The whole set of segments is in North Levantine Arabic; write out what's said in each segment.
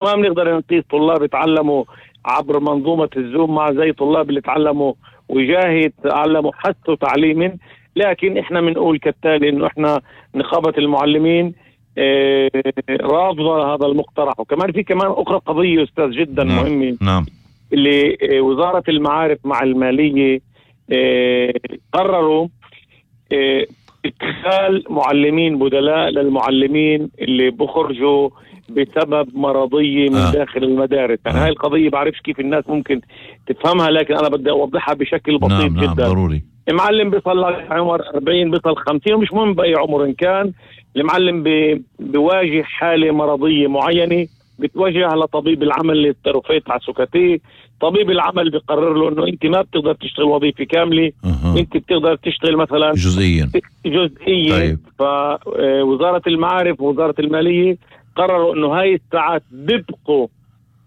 ما بنقدر نقيس طلاب يتعلموا عبر منظومة الزوم مع زي طلاب اللي تعلموا وجاهي تعلموا حثوا تعليما. لكن احنا بنقول كالتالي انه احنا نقابة المعلمين رافضة هذا المقترح. وكمان في كمان اخرى قضية استاذ جدا مهمة. نعم. اللي وزارة المعارف مع المالية قرروا ادخال معلمين بدلاء للمعلمين اللي بخرجوا بسبب مرضية من داخل المدارس. يعني هاي القضية بعرفش كيف الناس ممكن تفهمها، لكن أنا بدي أوضحها بشكل بسيط جدا. ضروري. المعلم بيصل عمر 40 بيصل 50 ومش مهم بأي عمر إن كان، المعلم بواجه حالة مرضية معينة بتوجه لطبيب العمل للترفيه تعسكتيه. طبيب العمل بيقرر له انه انت ما بتقدر تشتغل وظيفة كاملة، انت بتقدر تشتغل مثلا جزئيا. طيب. فوزارة المعارف ووزارة المالية قرروا انه هاي الساعات بيبقوا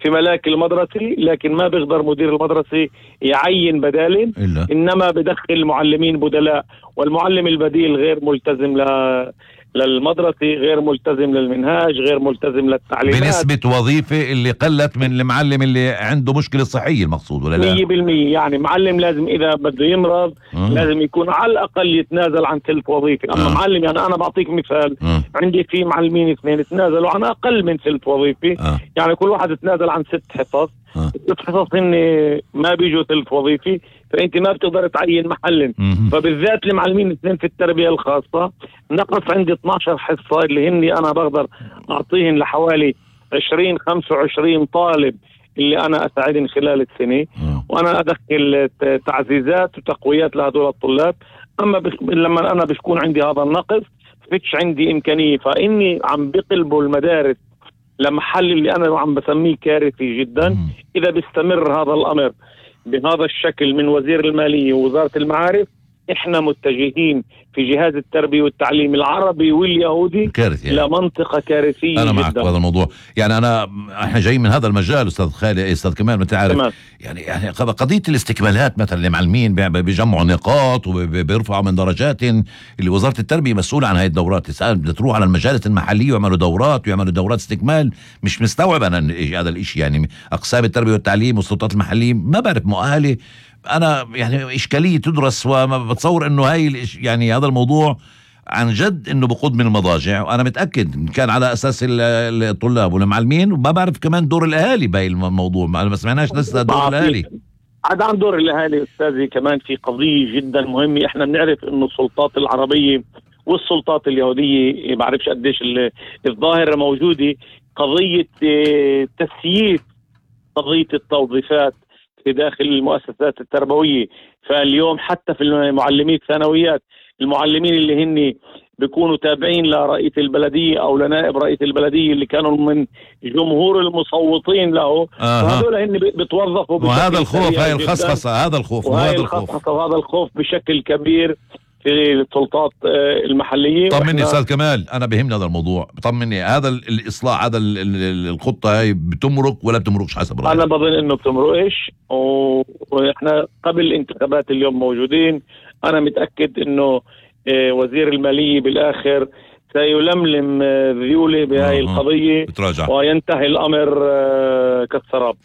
في ملاك المدرسة، لكن ما بيقدر مدير المدرسة يعين بدال، انما بدخل معلمين بدلاء، والمعلم البديل غير ملتزم للمدرسة، غير ملتزم للمنهاج، غير ملتزم للتعليمات بنسبة وظيفة اللي قلت من المعلم اللي عنده مشكلة صحية المقصود، ولا لا؟ 100%. يعني معلم لازم إذا بده يمرض لازم يكون على الأقل يتنازل عن ثلث وظيفة. أما معلم، يعني أنا بعطيك مثال، عندي في معلمين 2 تنازلوا عن أقل من ثلث وظيفة. يعني كل واحد تنازل عن 6 حصص. 6 حصص هن ما بيجوا ثلث وظيفة، فأنت ما بتقدر تعين محل. فبالذات المعلمين 2 في التربية الخاصة نقص عندي 12 حصة اللي هني أنا بقدر أعطيهن لحوالي 20-25 طالب اللي أنا أساعدهم خلال السنة، وأنا أدخل تعزيزات وتقويات لهذول الطلاب. أما لما أنا بيكون عندي هذا النقص فيش عندي إمكانية، فإني عم بقلبوا المدارس لمحل اللي أنا عم بسميه كارثي جدا. إذا بيستمر هذا الأمر بهذا الشكل من وزير المالية ووزارة المعارف، احنا متجهين في جهاز التربية والتعليم العربي واليهودي يعني. لمنطقة كارثية. أنا معك بهذا الموضوع. يعني احنا جايين من هذا المجال أستاذ خالد، أستاذ كمال، ما تعرف يعني قضية الاستكمالات مثلا المعلمين بيجمعوا نقاط وبيرفعوا من درجات، اللي وزارة التربية مسؤولة عن هاي الدورات. تسأل بدها تروح على المجالس المحلية ويعملوا دورات استكمال. مش مستوعب أنا هذا الإشي. يعني أقسام التربية والتعليم والسلطات المحلية ما بعرف مؤهلة. أنا يعني إشكالية تدرس، وما بتصور إنه يعني هذا الموضوع عن جد إنه بقود من المضاجع. وأنا متأكد كان على أساس الطلاب والمعلمين، وما بعرف كمان دور الأهالي بهاي الموضوع. ما سمعناش لسه دور الأهالي. عن دور الأهالي أستاذي كمان في قضية جدا مهمة. إحنا بنعرف إنه السلطات العربية والسلطات اليهودية بعرفش قديش الظاهرة موجودة قضية تسييس قضية التوظيفات في داخل المؤسسات التربوية. فاليوم حتى في المعلمين الثانويات، المعلمين اللي هن بيكونوا تابعين لرئيس البلدية أو لنائب رئيس البلدية اللي كانوا من جمهور المصوتين له، فهذول هن بتوظفوا. وهذا الخوف، هاي الخصخصة، هذا الخوف وهذا الخوف بشكل كبير في السلطات المحلية. طمني أستاذ كمال، أنا بهمني هذا الموضوع. طمني، هذا الإصلاح، هذا الخطة هاي بتمرق ولا بتمرقش حسب رأيك؟ أنا بظن إنه بتمرقش، وإحنا قبل الانتخابات اليوم موجودين. أنا متأكد إنه وزير المالية بالآخر سيلملم ذيوله بهاي القضية وينتهي الأمر كالسراب.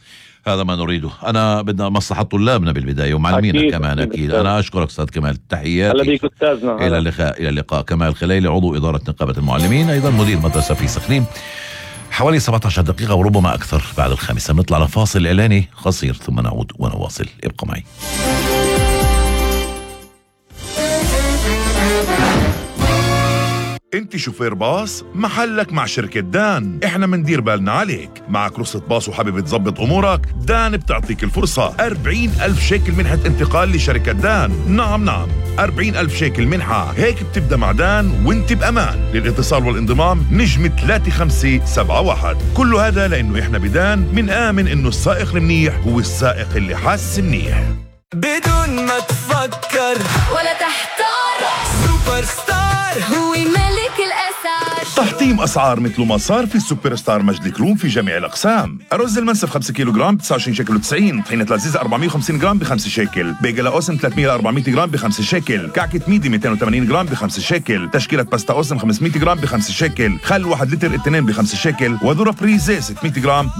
هذا ما نريده. أنا بدنا مصلحة طلابنا بالبداية ومعلمينا كمان أكيد. أنا أشكرك أستاذ كمال، تحياتي. هلا بيك أستاذنا. إلى اللقاء. كمال خليلي، عضو إدارة نقابة المعلمين، أيضا مدير مدرسة في سخنين. حوالي 17 دقيقة وربما أكثر بعد 5 نطلع لفاصل إعلاني قصير ثم نعود ونواصل. ابقوا معي. انت شوفير باص، محلك مع شركة دان. احنا مندير بالنا عليك. معك رخصة باص وحابب تظبط امورك؟ دان بتعطيك الفرصة. 40,000 شيكل منحة انتقال لشركة دان. نعم 40,000 شيكل منحة. هيك بتبدأ مع دان وانت بأمان. للاتصال والانضمام نجم 3571. كل هذا لانه احنا بدان منآمن انه السائق المنيح هو السائق اللي حاس منيح. بدون ما تفكر ولا تحتار، سوبر ستار هو ملك الأسعار. تحطيم أسعار مثل ما صار في السوبر ستار مجد الكروم في جميع الأقسام. أرز المنسف 5 كيلو جرام ب 29 شيكل و90، طحينة لذيذ 450 جرام ب 5 شيكل، بيجلا أوسم 300 ل 400 جرام ب 5 شيكل، كعكة ميدي 280 جرام ب 5 شيكل، تشكيلة باستا أوسم 500 جرام ب 5 شيكل، خل 1 لتر التنين ب 5 شيكل، وذرة فريزي 600 جرام ب